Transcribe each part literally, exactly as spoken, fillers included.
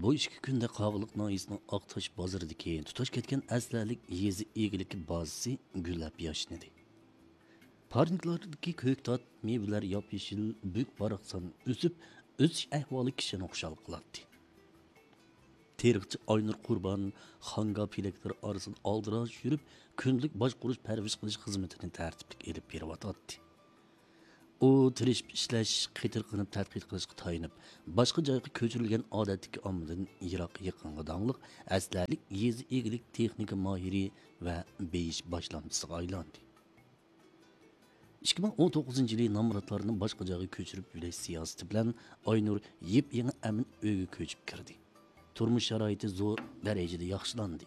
بۇ ئىككى كۈندە قاغىلىق ناھىيەسىنىڭ ئاقتاش بازىرىدىكى تۇتاش كەتكەن ئەسلىھەلىك يېزا ئىگىلىكى بازىسى گۈللەپ ياشنىدى. پارنىكلاردىكى كۆكتات، مېۋىلەر ياپيېشىل، بۈك-باراقسان ئۆسۈپ، ئۆسۈش ئەھۋالى كىشىنى خۇشال قىلاتتى. تېرىقچى ئاينۇر قۇربان خاڭگا پېلەكلىرى ئارىسىدا ئالدىراش يۈرۈپ، كۈندىلىك باشقۇرۇش، پەرۋىش قىلىش خىزمىتىنى تەرتىپلىك ئېلىپ بېرىۋاتاتتى. ئۇ تىرىشىپ ئىشلەش، قېتىرقىنىپ تەتقىق قىلىشقا تايىنىپ، باشقا جايغا كۆچۈرۈلگەن ئادەتتىكى ئاممىدىن يىراق يېقىنغا داڭلىق ئەسلىھەلىك يېزا ئىگىلىك تېخنىكا ماھىرى ۋە بېيىش باشلامچىسىغا ئايلاندى. ئىككى مىڭ ئون توققۇزىنچى يىلى نامراتلارنى باشقا جايغا كۆچۈرۈپ يۆلەش سىياسىتى بىلەن ئاينۇر يېپيېڭى ئەمىن ئۆيگە كۆچۈپ كىردى. تۇرمۇش شارائىتى زور دەرىجىدە ياخشىلاندى.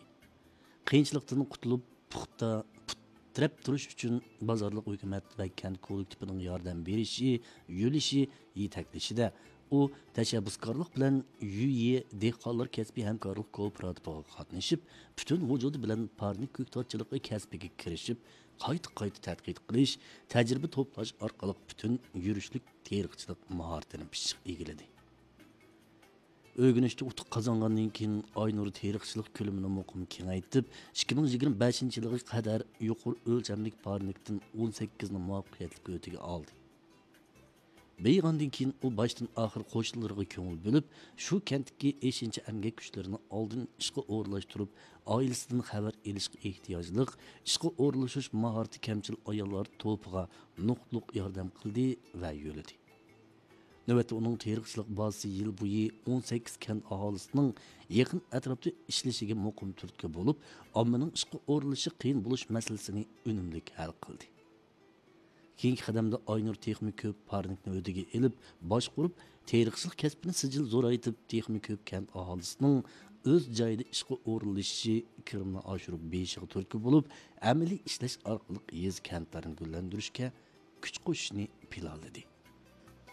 قىيىنچىلىقتىن قۇتۇلۇپ، پۇختا پۇت تىرەپ تۇرۇش ئۈچۈن بازارلىق ھۆكۈمەت ۋە كەنت كوللېكتىپىنىڭ ياردەم بېرىشى، يۆلىشى، يېتەكلىشىدە ئۇ تەشەببۇسكارلىق بىلەن يۈيى دېھقانلار كەسپىي ھەمكارلىق كوپىراتىپىغا قاتنىشىپ، پۈتۈن ۋۇجۇدى بىلەن پارنىك كۆكتاتچىلىقى كەسپىگە كىرىشىپ، قايتا-قايتا تەتقىق قىلىش، تەجرىبە توپلاش ئارقىلىق پۈتۈن يۈرۈشلۈك تېرىقچىلىق ماھارىتىنى پىششىق ئىگىلىدى. ئۆگىنىشتە ئۇتۇق قازانغاندىن كېيىن، ئاينۇر تېرىقچىلىق كۆلىمىنى مۇقىم كېڭەيتىپ، ئىككى مىڭ يىگىرمە بەشىنچى يىلىغا قەدەر يۇقىرى ئۆلچەملىك پارنىكتىن ئون سەككىزنى مۇۋەپپەقىيەتلىك ھۆددىگە ئالدى. بېيىغاندىن كېيىن، ئۇ باشتىن ئاخىر قوشنىلىرىغا كۆڭۈل بۆلۈپ، شۇ كەنتتىكى ئېشىنچا ئەمگەك كۈچلىرىنى ئالدىن ئىشقا ئورۇنلاشتۇرۇپ، ئائىلىسىدىن خەۋەر ئېلىشقا ئېھتىياجلىق، ئىشقا ئورۇنلىشىش ماھارىتى كەمچىل ئاياللار توپىغا نۇقتىلىق ياردەم قىلدى ۋە يۆلىدى. نۆۋەتتە ئۇنىڭ تېرىقچىلىق بازىسى يىل بويى ئون سەككىز كەنت ئاھالىسىنىڭ يېقىن ئەتراپتا ئىشلىشىگە مۇقىم تۈرتكە بولۇپ، ئاممىنىڭ ئىشقا ئورۇنلىشىشى قىيىن بولۇش مەسىلىسىنى ئۈنۈملۈك ھەل قىلدى. كېيىنكى قەدەمدە ئاينۇر تېخىمۇ كۆپ پارنىكنى ھۆددىگە ئېلىپ باشقۇرۇپ، تېرىقچىلىق كەسپىنى سىجىل زورايتىپ، تېخىمۇ كۆپ كەنت ئاھالىسىنىڭ ئۆز جايىدا ئىشقا ئورۇنلىشىشى، كىرىمىنى ئاشۇرۇپ بېيىشىغا تۈرتكە بولۇپ، ئەمەلىي ئىشلەش ئارقىلىق يېزا كەنتلەرنى گۈللەندۈرۈشكە كۈچ قوشۇشنى پىلانلىدى.